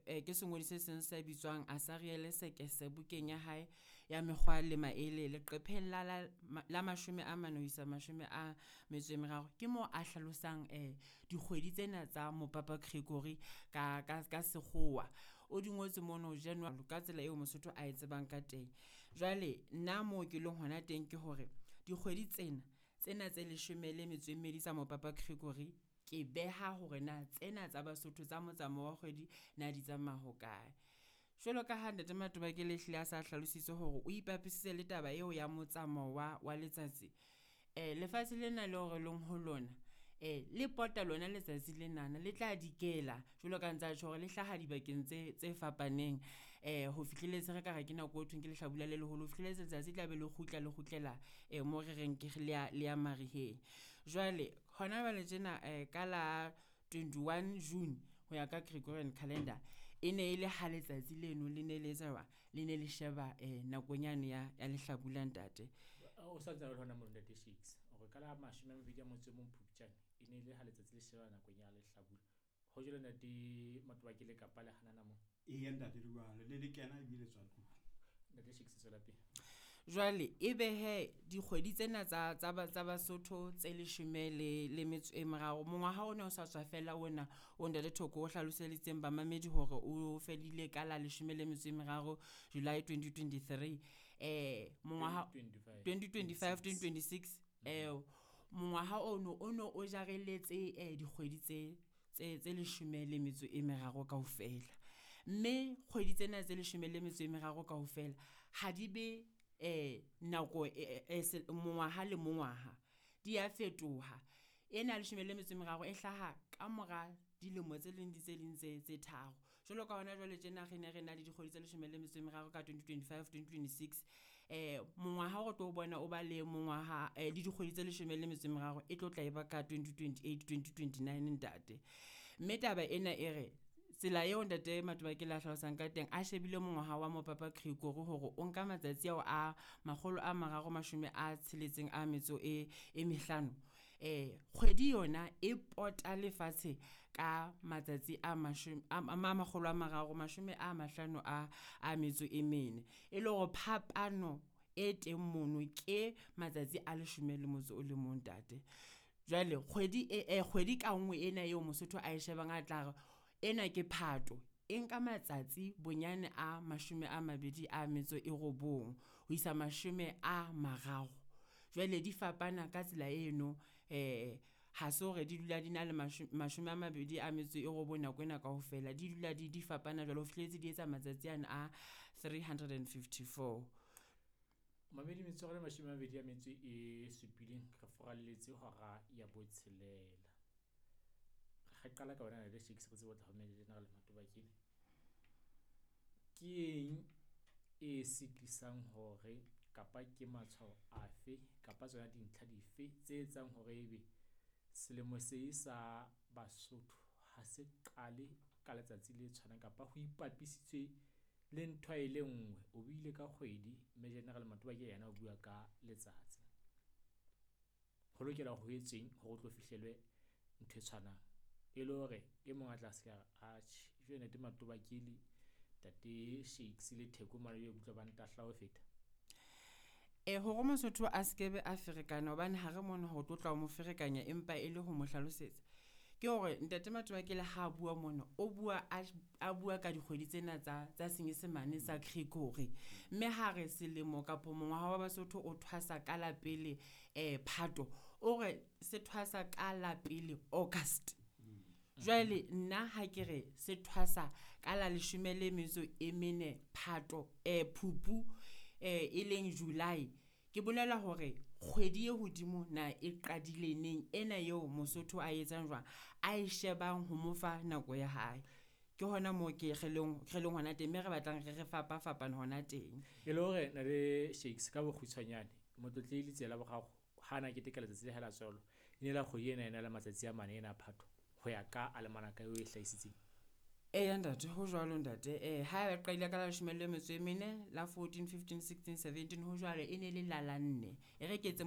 ke sengodi se seng se bitswang Asariele Sekese bukeng ya hae ya mekgwa le maele leqepheng la 40 ho isa 43. Ke moo a hlalosang dikgwedi tsena tsa mopapa Gregory ka sekgowa. O di ngotse mono January ka tsela eo Mosotho a e tsebang ka teng. Jwale nna moo ke leng hona teng ke hore dikgwedi tsena, tsena tse 12 tsa mopapa Gregory ke beha hore na tsena tsa Basotho tsa motsamao wa kgwedi na di tsamaya hokae. Jwalo ka ha ntate Matobakele ehlile a sa hlalositse hore o ipapisitse le taba eo ya motsamao wa letsatsi. Lefatshe lena leo re leng ho lona le pota lona letsatsi lenana le tla dikela jwalo ka ntsa tjho hore le hlaha dibakeng tse fapaneng ho fihlelletse re ka re ke nako eo thweng ke lehlabula le leholo ho fihlelletse letsatsi tla be le kgutla le kgutlela mo re reng ke le ya mariheng. Jwale hona jwale tjena ka la 21 June ho ya ka Gregorian calendar, e ne e le ha letsatsi leno le ne le etsa jwang, le ne le sheba nakong yane ya lehlabula ntate. O sa ntse o le hona mono ntate Shakes, hore ka la 21 Phupjane e ne le ha letsatsi le sheba nakong ya lehlabula. Ho jwalo ntate Matobakele kapa le hanana moo? Eya ntate le jwalo, le kena ebile tswa tlung. Ntate Shakes tswela pele. Jwale ebe he dikgwedi tsena tsa Basotho tse 13 mongwaha ona o sa tswa fela ona o ntate Thoko o hlaloseditseng bamamedi hore o fedile ka la 13 July 2023. Mongwaha 2025 2026 mongwaha ono ono o jareletse dikgwedi tse 13 kaofela. Mme kgwedi tsena tse 13 kaofela ha di be nako mongwaha le mongwaha di a fetoha. Ena 13 e hlaha ka mora dilemo tse leng tse ding tse tharo. Jwalo ka hona jwale tjena re ne re na le dikgwedi tse 13 ka 2025 2026. Mongwaha o tlo bona o ba le mongwaha le dikgwedi tse 13 e tlo tla eba ka 2028 2029 ntate. Mme taba ena e re tsela eo ntate Matobakele a hlalosang ka teng a shebile mongwaha wa mopapa Gregory hore o nka matsatsi ao a 365. Kgwedi yona e pota lefatshe ka matsatsi a 354. E le hore phapano e teng mono ke matsatsi a 11 ntate. Jwale kgwedi kgwedi ka nngwe ena eo Mosotho a e shebang a tla re ena ke Phato e nka matsatsi bonyane a 29 ho isa 30. Jwale di fapana ka tsela eno ha se hore di dula di na le 29 nako ena kaofela, di dula di fapana jwalo ho fihlelletse di etsa matsatsi ana a 354. Mamedi metsotso 27 re furalletse hora ya 6. Re qala ka wena ntate Shakes re tsebe ho tla ho General Matobakele. Ke eng e sitisang hore kapa ke matshwao afe kapa tsona dintlha dife tse etsang hore ebe selemo se sa Basotho ha se qale ka letsatsi le tshwanang kapa ho ipapisitswe le ntho e le nngwe? O buile ka kgwedi, mme General Matobakele yena o bua ka letsatsi. Ho lokela ho etsweng hore o tlo fihlelwe ntho e tshwanang, e le hore e mong a tla se ka re atjhe jwale ntate Matobakele, ntate Shakes le Theko mane ke utlwa ba ntahla ho feta. Hore Mosotho a skebe a ferekana hobane ha re mona ho tlotla ho mo ferekanya empa e le ho mo hlalosetsa. Ke hore ntate Matobakele ha bua mona o bua a bua ka dikgwedi tsena tsa senyesemane sa Gregory. Mme ha re selemo kapo mongwaha wa Basotho o thwasa ka la pele Phato, o re se thwasa ka la pele August. Jwale nna ha ke re se thwasa ka la 14 Phato Phupu e leng July. Ke bolela hore kgwedi e hodimo na e qadile neng ena eo Mosotho a etsang jwang, a e shebang ho mo fa nako ya hae. Ke hona moo ke re leng hona teng, mme re batlang re fapafapana hona teng. E le hore ntate Shakes ka bokgutshwanyane Motlotlehi Letsela Boraro ha na keteka letsatsi le hae la tswalo, e ne la kgwedi ena ena le matsatsi a mane ena Phato ho ya ka alemanaka eo e hlahisitseng. Eya ntate, ho jwalo ntate. Ha e qadile ka la 14, 15, 16, 17 ho jwalo e ne le la la nne. E re ke etse